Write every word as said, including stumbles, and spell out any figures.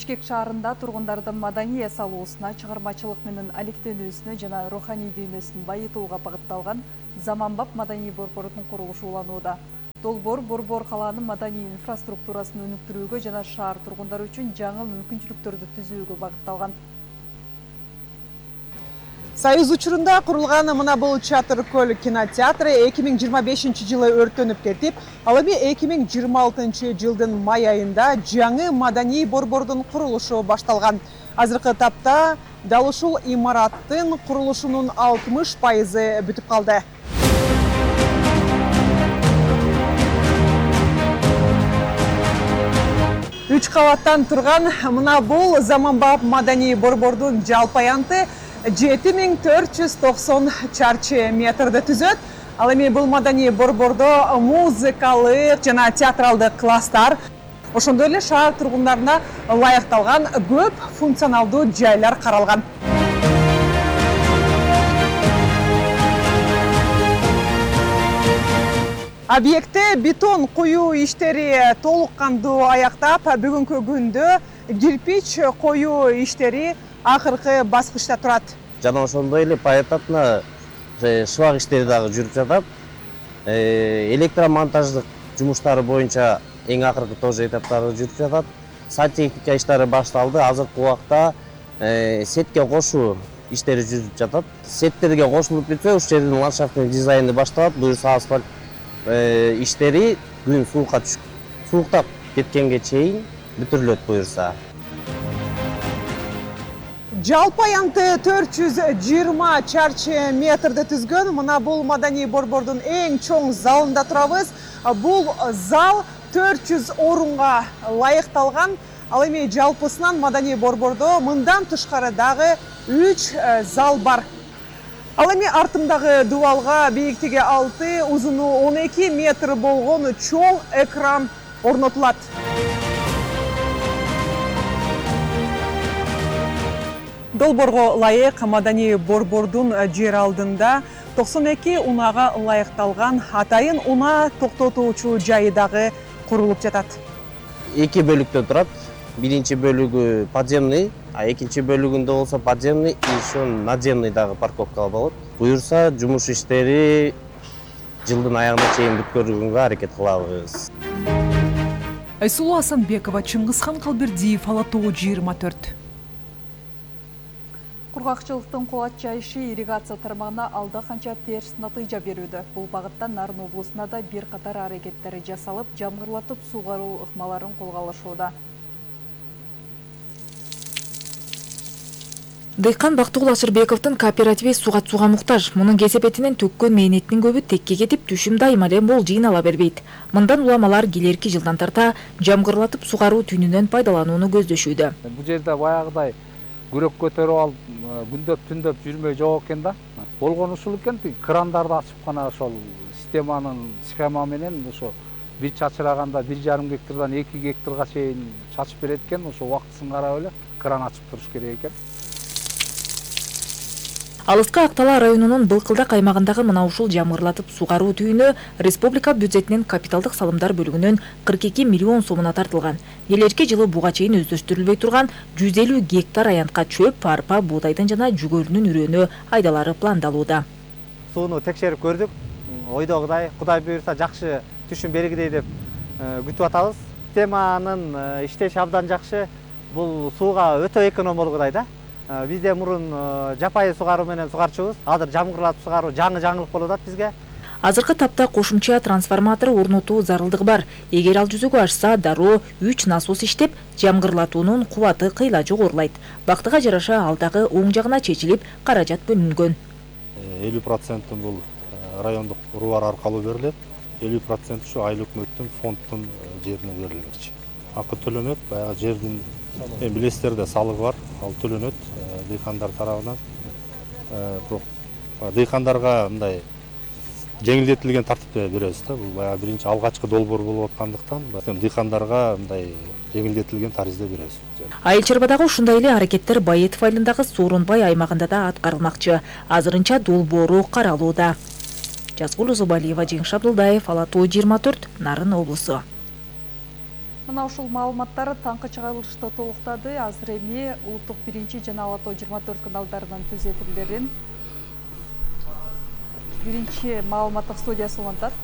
Бишкек шаарында тургундардын маданий эс алуусуна, чыгармачылык менен алектенүүсүнө жана руханий дүйнөсүн байытууга багытталган заманбап маданий борбордун курулушу уланууда. Долбоор борбор калаанын маданий инфраструктурасын өнүктүрүүгө жана шаар тургундары үчүн жаңы мүмкүнчүлүктөрдү түзүүгө багытталган. Союз учурунда курулган мына бул Чатыр көл кинотеатры эки миң жыйырма бешинчи жылы өрттөнүп кетип, ал эми эки миң жыйырма алтынчы жылдын май айында жаңы маданий борбордун курулушу башталган. Азыркы тапта дал ушул имараттын курулушунун алтымыш пайызы бүтүп калды. Үч кабаттан турган мына бул заманбап маданий борбордун жалпы аянты жети миң төрт жүз токсон чарчы метрди түзөт. Ал эми бул маданий борбордо музыкалык жана театралдык класстар, ошондой эле шаар тургундарына ылайыкталган көп функционалдуу жайлар каралган. Объектте бетон коюу иштери толук кандуу аяктап, бүгүнкү күндө кирпич коюу иштери акыркы баскычта турат. Жана ошондой эле поэтапна шыбак иштери дагы жүрүп жатат. Электромонтаждык жумуштары боюнча эң акыркы тоже этаптары жүрүп жатат. Сантехника иштери башталды. Азыркы убакта сетке кошуу иштери жүрүп жатат. Сеттерге кошулуп бүтсө, ушул жердин ландшафтный дизайны башталат. Буюрса асфальт иштери күн суукка түшүп, сууктап кеткенге чейин бүтүрүлөт буюрса. Жалпы аянты төрт жүз жыйырма чарчы метрди түзгөн мына бул маданий борбордун эң чоң залында турабыз. Бул зал төрт жүз орунга ылайыкталган. Ал эми жалпысынан маданий борбордо мындан тышкары дагы үч зал бар. Ал эми артымдагы дубалга бийиктиги алты, узуну он эки метр болгон чоң экран орнотулат. Долбоорго ылайык маданий борбордун жер алдында токсон эки унаага ылайыкталган атайын унаа токтотуучу жайы дагы курулуп жатат. Эки бөлүктөн турат. Биринчи бөлүгү подземный, а экинчи бөлүгүндө болсо подземный и еще надземный дагы парковка болот. Буюрса жумуш иштери жылдын аягына чейин бүткөрүүгө аракет кылабыз. Айсулуу Асанбекова, Чыңгызхан Калбердиев, Ала тогуз жыйырма төрт. Кургакчылыктын кубат жайышы ирригация тармагына алда канча терс натыйжа берүүдө. Бул багытта Нарын облусунда да бир катар аракеттер жасалып, жамгырлатып суугаруу ыкмаларын колго алышууда. Дыйкан Бактыгул Ашырбековдун кооперативи суга сууга муктаж. Мунун кесепетинен төккөн мээнетинин көбү текке кетип, түшүм дайыма эле мол жыйнала бербейт. Мындан уламалар келерки жылдан тарта жамгырлатып суугаруу түнүнөн пайдаланууну көздөшүүдө. Бул жерде баягыдай күрөк көтөрүп алып, күндөп түндөп жүрмөй жок экен да. Болгон ушул экен, крандарды ачып гана ошол системанын схема менен ошо бир чачыраганда бир жарым гектардан эки гектарга чейин чачып берет экен. Ошо убактысын карап эле кран ачып туруш керек экен. Алыскы Актала районунун Былкылдак аймагындагы мына ушул жамгырлатып суугаруу түйүнү республика бюджетинин капиталдык салымдар бөлүгүнөн кырк эки миллион сомуна тартылган. Келерки жылы буга чейин өздөштүрүлбөй турган жүз элүү гектар аянтка чөп, арпа, буудайдын жана жүгөрүнүн үрөөнү айдалары пландалууда. Сууну текшерип көрдүк. Ойдогудай, Кудай буйрса жакшы түшүм бергидей деп күтүп атабыз. Системанын иштеши абдан жакшы. Бул сууга өтө эконом болгудай да. Бизде мурун жапайы суугаруу менен суугарчубуз. Азыр жамгырлатып суугаруу жаңы жаңылык болуп атат бизге. Азыркы тапта кошумча трансформатор орнотуу зарылдыгы бар. Эгер ал жүзөгө ашса, дароо үч насос иштеп, жамгырлатуунун кубаты кыйла жогорулайт. Бактыга жараша ал дагы оң жагына чечилип, каражат бөлүнгөн. элүү проценти бул райондук урбар аркылуу берилет. элүү проценти ушу айыл өкмөттүн фонддун жерине берилмекчи. Акы төлөнөт, баягы жердин билесиздер да салыгы бар, ал төлөнөт дыйкандар тарабынан. Бирок дыйкандарга мындай жеңилдетилген тартипте беребиз да. Бул баягы биринчи алгачкы долбоор болуп аткандыктан дыйкандарга мындай жеңилдетилген таризде беребиз. Айыл чарбадагы ушундай эле аракеттер Байетов айылындагы Сооронбай аймагында да аткарылмакчы. Азырынча долбоору каралууда. Жазгул Зубалиева, Жеңиш Абдулдаев, Ала тогуз жыйырма төрт, Нарын облусу. Мына ушул маалыматтар таңкы чыгарылышты толуктады. Азыр эми улуттук биринчи жана Ала Тоо жыйырма төрт каналдарынын түз эфирлерин биринчи маалыматтык студиясы улантат.